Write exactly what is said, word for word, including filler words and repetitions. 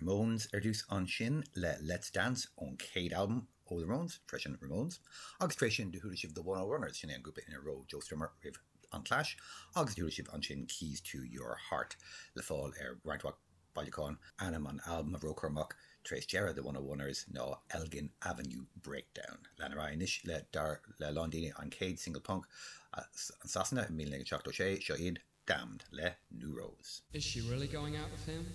Ramones ar dtús ansin le Let's Dance ón chéad albam ó The Ramones, freisin Ramones, agus tar éis sin do chuala sibh The One O Runners sin é an grúpa ina raibh Joe Strummer roimh an Clash, agus do chuala sibh ansin Keys to Your Heart le fáil ar roinnt mhaith bailiúchán ainm an albam a raibh amach tar éis deireadh The One O Runners ná Elgin Avenue Breakdown. Lean ar anois le dar le lán daoine an chéad single punk i Sasana i míle naoi seachtó sé seo iad Damned le New Rose. Is she really going out with him?